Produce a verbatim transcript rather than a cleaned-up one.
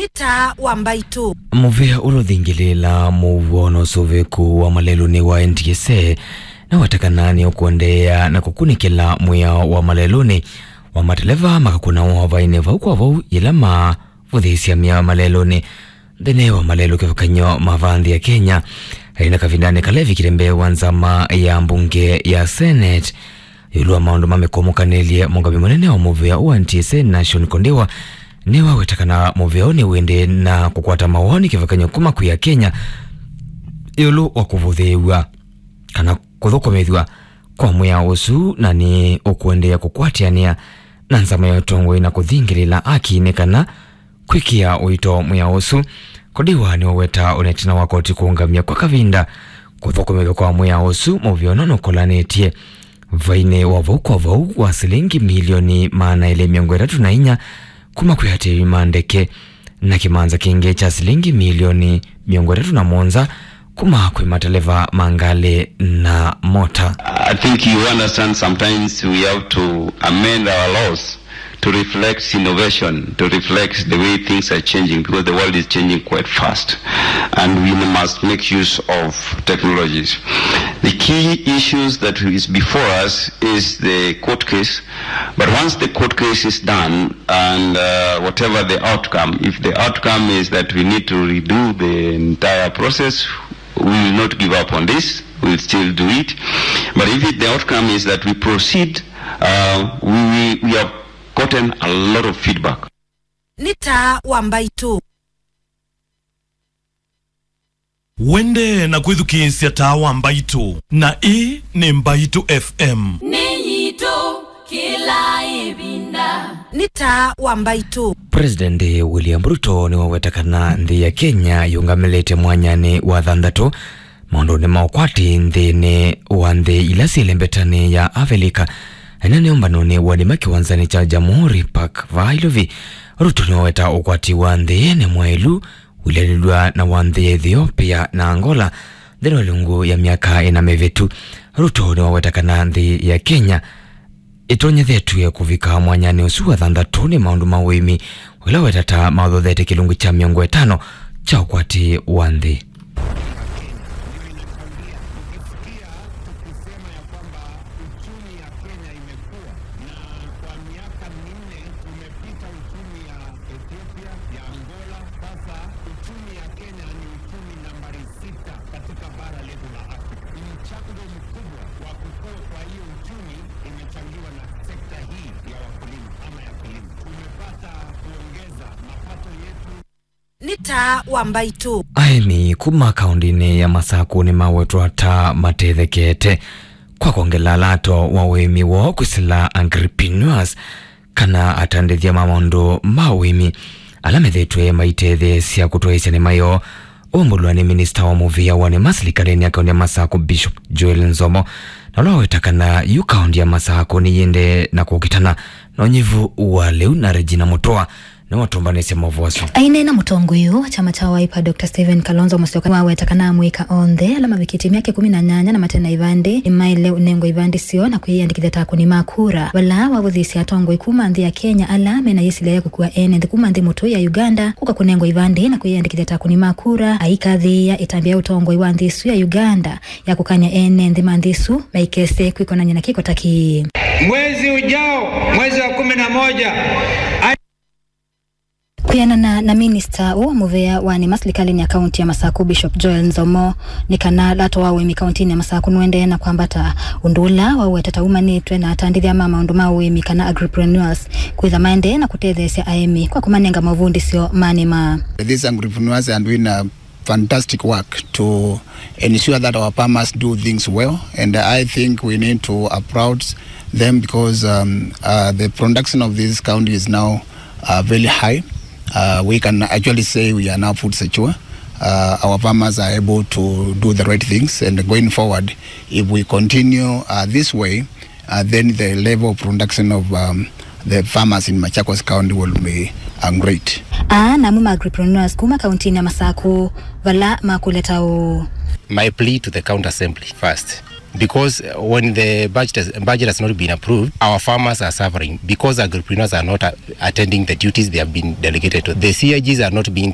Nĩ taa wa mbaitũ. Mũvĩa ũla ũthingĩlĩĩlaa mũuo na ũsũvĩku wa malelũnĩ wa N T S A nĩweta kana nĩũkũendeea na kũkunĩkĩla mwĩao wa malelũnĩ wa mateleva makakũna wavainĩ vau kwa vau yĩla mavũthĩĩsya mĩao malelũnĩ nthĩnĩ wa malelũ kĩvathũkany'o ma va nthĩ ya Kenya. Aĩ na kavindanĩ kala evikile mbee wa nzama ya mbunge ya Senate, ĩũlũ wa maũndũ ma mĩkũmũkanĩlye, mũngami mũnene wa mũvĩa ũũ wa N T S A Nashon Kondiwa nĩwaweta kana mũvĩa ũũ nĩwĩndĩ na kũkwata mawoni kĩvathũkany'o kuma kwĩ Akenya ĩũlũ wa kũvũthĩĩw'a kana kũthũkũmĩthw'a kwa mwĩao ũsu, na nĩ ũkũendeea kũkwatĩanĩa na nzama ya ũtongoi na kũthingĩlĩla haki nĩ kana kwĩkĩa ũito mwĩao ũsu. Kondiwa nĩwaweta o na ĩtina wa koti kũũngamya kwa kavinda kũthũkũmĩthw'a kwa mwĩao ũsu, mũvĩa ũno nũkolanĩtye vainĩ wa vau kwa vau wa silingi milioni maana elĩ mĩongo ĩtatũ na inya kuma kwĩ atĩĩi ma ndeke na kĩmanza kĩngĩ kya silingi milioni mĩongo ĩtatũ na mũonza kuma kwĩ mateleva ma ngalĩ na mota. I think you understand sometimes we have to amend our laws to reflect innovation, to reflect the way things are changing, because the world is changing quite fast, and we must make use of technologies. The key issues that is before us is the court case, but once the court case is done, and uh, whatever the outcome, if the outcome is that we need to redo the entire process, we will not give up on this. We will still do it. But if it, the outcome is that we proceed, uh, we, we, we have gotten a lot of feedback. Nĩ taa wa mbaitũ. Wende na kwĩthukĩĩsya taa wa mbaitũ, na ĩĩ nĩ Mbaitũ F M. Nĩ yitũ kĩla ĩvinda. Nĩ taa wa mbaitũ. President William Ruto nĩwaweta kana nthĩ ya Kenya yũngamĩlĩte mwanyanĩ wa thanthatũ maũndũnĩ ma ũkwati nthĩnĩ wa nthĩ ila syĩ lembetanĩ ya Avilika, ĩna nĩ ũmbanonĩ wa nĩma kĩwanzanĩ kya Jamhuri Park vaa Iluvi. Ruto nĩwaweta ũkwati wa nthĩ nĩ mwaĩlu ũilanĩlw'a na wa nthĩ ya Ethiopia na Angola nthĩnĩ wa ĩlungu ya myaka ĩna mĩvĩtu. Ruto nĩwaweta kana nthĩ ya Kenya ĩtonyethetw'e kũvika mwanyanĩ ũsu wa thanthatũ nĩ maũndũ ma ũĩmi, ũla wetata maũthothete kĩlungu kya mĩongo ĩtano kya ũkwati wa nthĩ. Kwa miaka minne tumepita uchumi ya Ethiopia, ya Angola. Sasa uchumi ya Kenya ni uchumi nambari sita katika bara letu la Afrika. Mchango mkubwa wa kukua kwa hiyo uchumi imechangiwa na sekta hii ya wakulima ama ya kilimo. Tumepata kuongeza mapato yetu. Nĩ taa wa mbaitũ. Aĩmi kuma kaũndĩnĩ ya Masakũ nĩmawetwa ta matethekete kwa kwongela lato wa ũĩmi woo kwĩsĩla entrepreneurs kana atandĩthya ma maũndũ ma ũĩmi ala methĩĩtwe maitetheesya kũtwaĩĩsya nĩma yoo. Ũmbũlwa nĩ minista wa mũvĩa wa nĩma silikalĩnĩ ya kaũndĩ ya Masakũ, Bishop Joel Nzomo, na ũla waweta kana yu kaũndĩ ya Masakũ nĩyĩendee na kũkitana na ũnyivu wa lĩu. Na Regina Mũtũa nĩwatũmbanĩsye maũvoo asu. Aineena mũtongoi ũũ wa kyama kya Wiper, Doctor Stephen Kalonzo Musyoka, nĩwaweta kana amũika onthe ala mavikĩtye myaka ĩkũmi na nyanya na mate na ivandĩ nĩmaĩle ũnengwa ivandĩ syoo na kwĩyĩandĩkĩthya ta akũni ma kura. Vala wavũthĩĩsye atongoi kuma nthĩ ya Kenya ala mena yĩsilya ya kũkua ene nthĩ kuma nthĩ mũtũi ya Uganda kũka kũnengwa ivandĩ na kwĩyĩandĩkĩthya ta akũni ma kura, aikathĩĩa ĩtambya ya ũtongoi wa nthĩ ĩsu ya Uganda ya kũkany'a ene nthĩ ma nthĩ ĩsu maikese kwĩkonany'a na kĩko ta kĩĩ. Mwezi ujao, mwezi wa kumi na moja, Kwĩanana na minista ũũ mũvea wa nĩma silikalĩnĩ ya kaũntĩ ya Masakũ, Bishop Joel Nzomo, nĩ kana lato wa ũĩmi kaũntĩnĩ ya Masakũ nũendee na kwambata, ũndũ ũla wawetete ta umanĩtwe na atandĩthya ma maũndũ ma ũĩmi kana agripreneurs kwĩtha maendee na kũtetheesya aĩmi kwa kũmanenga mavundĩsyo ma nĩma. These agripreneurs are doing a fantastic work to ensure that our farmers do things well, and I think we need to applaud them because, um, uh, the production of this county is now, uh, very high. Uh, we can actually say we are now food secure. Uh, our farmers are able to do the right things, and going forward, if we continue, uh, this way, uh, then the level of production of, um, the farmers in Machakos County will be, uh, great. Aa namo ma agripreneurs kuma kauntinĩ ya Masakũ vala makũleta ũũ. My plea to the County Assembly first, Because uh, when the budget has, budget has not been approved, our farmers are suffering because agripreneurs are not uh, attending the duties they have been delegated to. The C I Gs are not being